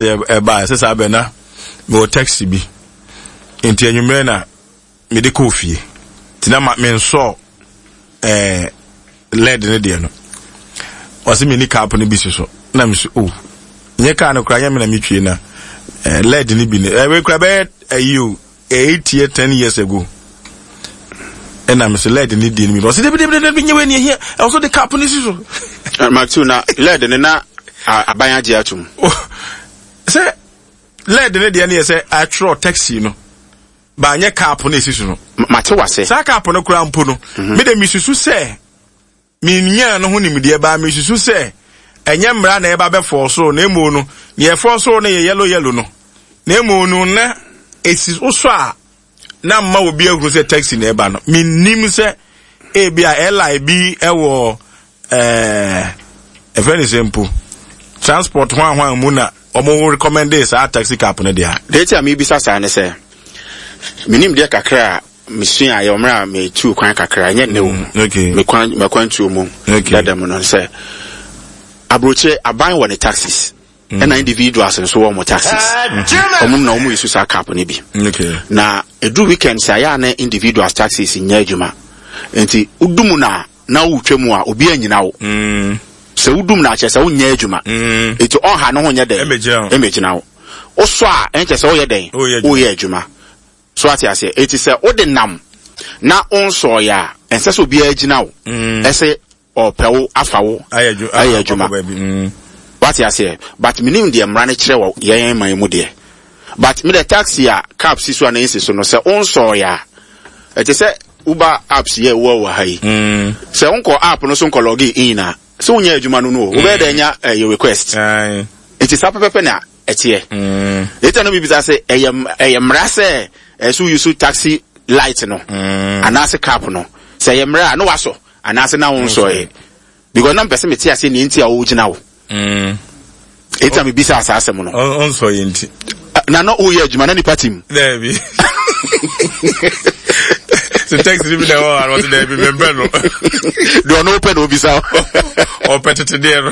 Ɛbaa sɛ saa bɛ na mewɔ taxi bi nti anwummerɛ na mede kɔɔ fie nti na ma mensɔɔ ɛɛ led ne deɛ no ɔse menni cap no bi si so na mesi o oh, nyɛ kaa no koraa nyɛ me na metwie na ɛɛ led no bi ne ɛwɛ koraa bɛyɛ ayi o 8 year 10 years ago ɛna mese led ne deɛ no bi ɔse dabi dabi dabi nyɛ wei ne ɛhia ɛwɔ so de cap no si so Matthew na led ne na aban agye atom sɛ led ne deɛ no yɛ sɛ atwerɛ taxi no baanyɛ cap no ɛsi so no mate wase saa cap no koraa mpo no mede mesusu sɛ Minnyaa no ho nimdeɛ, baa misusu sɛ ɛnyɛ mmara na ɛba bɛfɔɔ soro na mmom no, nea ɛfɔɔ soro no yɛ yellow yellow no, na mmom no na esi wo so a na mma obi ahunu sɛ taxi na ɛba no. Minnim sɛ ebi a airline bi wɔ ɛɛ ɛfɛ ne sɛ mpo transport ho ahoan mu na wɔn recommendee saa taxi cab no deɛ. Deɛ nti a mebisa saa ne sɛ, menim deɛ kakra a mesuaeɛ wɔ mmerɛ a metuu kwan kakra, ɛnyɛ nnɛ o, Mm, me kwan m'akwantuo mu dada mu no sɛ aburokyire aban wɔ ne taxis mm. ɛna individuals nso wɔ wɔn taxis wɔn na wɔn yi so saa cap no bi na edu weekend sɛ ayɛ a na individuals taxis nyɛ adwuma nti wodum na na wotwa mu a obi anyina wo mm. sɛ wodum na akyerɛ sɛ wonyɛ adwuma mm. nti ɔnha ne ho nyɛ dɛn ɛmɛgyina wo wosɔ a ɛnkyɛ sɛ woyɛ dɛn woyɛ adwuma So ate aseɛ? Enti sɛ wode nam na wonsɔɔeɛ a, ɛnsɛ sɛ obiara gyina wo mm. ɛsɛ ɔpɛ wo afa wo ayɛ adwuma. Mm. Wate aseɛ? But menim deɛ mmara no kyerɛ wɔ yɛn man mu deɛ. But me deɛ taxi a cab si so a na ɛnsi so no sɛ wonsɔɔeɛ a, ɛte sɛ Uber apps yɛ wɔ wɔ ha yi. Mm. Sɛ wonkɔ app no so nkɔ log in a, sɛ wonyɛ adwuma no no o, wobɛyɛ dɛ anya ɛyɛ request. Nti saa pɛpɛpɛ na ɛteɛ. Later no bibisa sɛ ɛyɛ ɛyɛ mmara sɛ ɛsɛ wo use taxi light no mm. anaasɛ cap no sɛ ɛyɛ mmara a na wasɔ anaasɛ na wonsɔɛ because na mpɛ sɛ mete aseɛ nea nti a wogyina wo. Mm. Eti na mebisa saa asɛm no. Ɔnsɔ yɛ nti. Na na woyɛ adwuma na nipa tim. Daabi. So taxi bi na ɛwɔ hɔ a ɔte daabi mempɛ no. Deɛ ɔno wopɛ na obisa. Ɔpɛ tete deɛ no.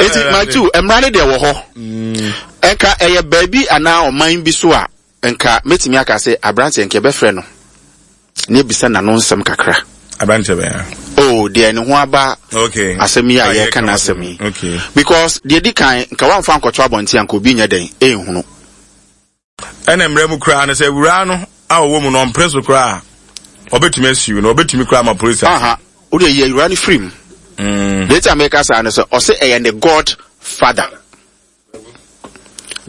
Eti Matthew, mmara no deɛ wɔ hɔ. Mm. Nka ɛyɛ baabi anaa ɔman bi so a, nka mɛtumi aka sɛ aberanteɛ nka ɛbɛfrɛ no na ebisa n'ano nsɛm kakra. Aberanteɛ bɛn? Oh, deɛ ne ho aba okay. asɛm yi a yɛreka n'asɛm yi. Okay. Because deɛ di kan, nka wamfa ankɔto abɔnten a nka obi nyɛ dɛn ɛnhunu. Ɛna mmerɛ mu koraa no sɛ awuraa no a ɔwɔ mu no ɔmpere so koraa a ɔbɛtumi asiw no ɔbɛtumi koraa ma polisi aha wode yi awuraa no firi mu mm. deɛ nti a meka saa no sɛ ɔse ɛyɛ ne god father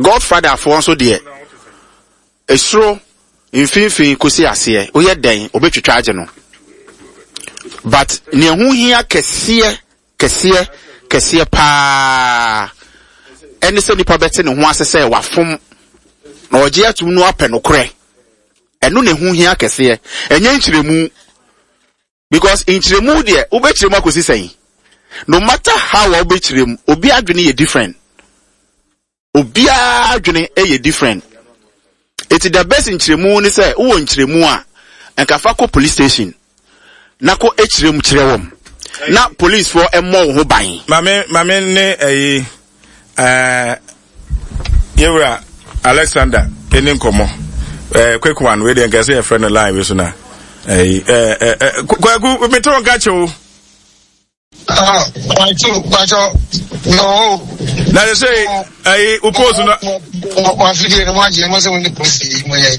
god father foɔ nso deɛ esoro mfimfini kɔsi aseɛ woyɛ dɛn ɔbɛtwitwa agye no but nea ɛho hia kɛseɛ Kɛseɛ, kɛseɛ paa ɛne sɛ nipa bɛte ne ho ase sɛ wafom na ɔgye atum no apɛ nokorɛ. Ɛno na ɛho hia kɛseɛ, ɛnyɛ nkyerɛmu. Because nkyerɛmu deɛ wobɛkyerɛ mu akɔsi sɛn? No matter how a wobɛkyerɛ mu, obi adwene yɛ different. Obiara adwene yɛ different. Eti the best nkyerɛmu ne sɛ wowɔ nkyerɛmu a, nka fa kɔ police station na kɔ kyerɛ mu kyerɛ wɔn na police foɔ mmɔ wo ho ban. Maame maame ne ɛyi ɛɛ yewura Alexander ɛni nkɔmɔ ɛɛ quick one wei deɛ nkɛse yɛ fɛ no line wei so na ɛyi ɛɛ ɛɛ kwaku mete wɔn ka kyɛw. Ah, Kwachu, Kwacho, no. Na they say, ayi, o post no. Wafidie no mo agye mo sɛ mo ne polisi mo yɛ.